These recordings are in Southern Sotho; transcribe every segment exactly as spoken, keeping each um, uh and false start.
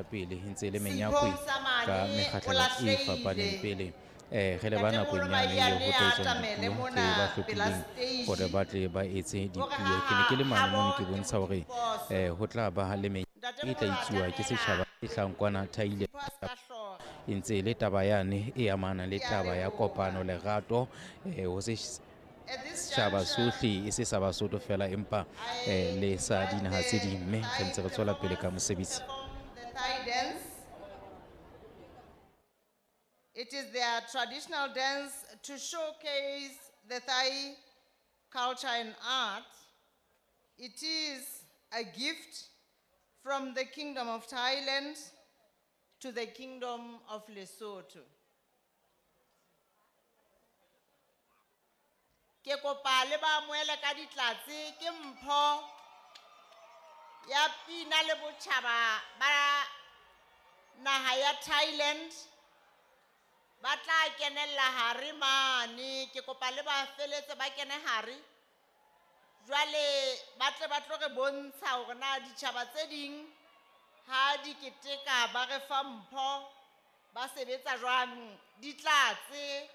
pele e ntse e le menyakwe Sipho Msamane ka o mekgahlelo e lahlehile. fapaneng pele. Eh, re leba nakong Ntatemoholo yane eo ho Maiyane tla a etswang atamele dipuo mona tse ba pela hlophileng stage. hore ba tle ba etse Hore dipuo. ha Ke ne ke le mane habo mono ke ke bontsha hore Modiphoso. eh, ho tla ba le menyakwe e tla Ntatemoholo etsuwa ke atamela. setjhaba e hlahang kwana Thailand. Sipho a ska hlora. E ntse e le taba yane e amanang le Ke a taba ya leboha. kopano, lerato, eh, ho se At this setjhaba juncture, sohle e se sa Basotho fela empa I eh, le sa invite dinaha tse the ding, mme re Thai ntse re tswela pele ka performers to mosebetsi. perform the Thai dance. It is their traditional dance to showcase the Thai culture and art. It is a gift from the Kingdom of Thailand to the Kingdom of Lesotho. Ke kopa le ba amohele ka ditlatse, ke mpho ya pina le botjhaba ba naha ya Thailand. Ba tla kenella hare mane, ke kopa le ba feletse ba kene hare. Jwale ba tle ba tlo re bontsha hore na ditjhaba tse ding ha di keteka ba re fa mpho ba sebetsa jwang. Ditlatse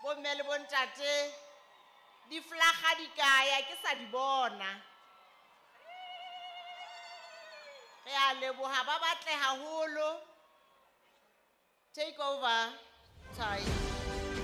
bomme le bontate, diflakga di kaya ke sa di bona. Re a leboha, ba batle haholo. Take over, Thai.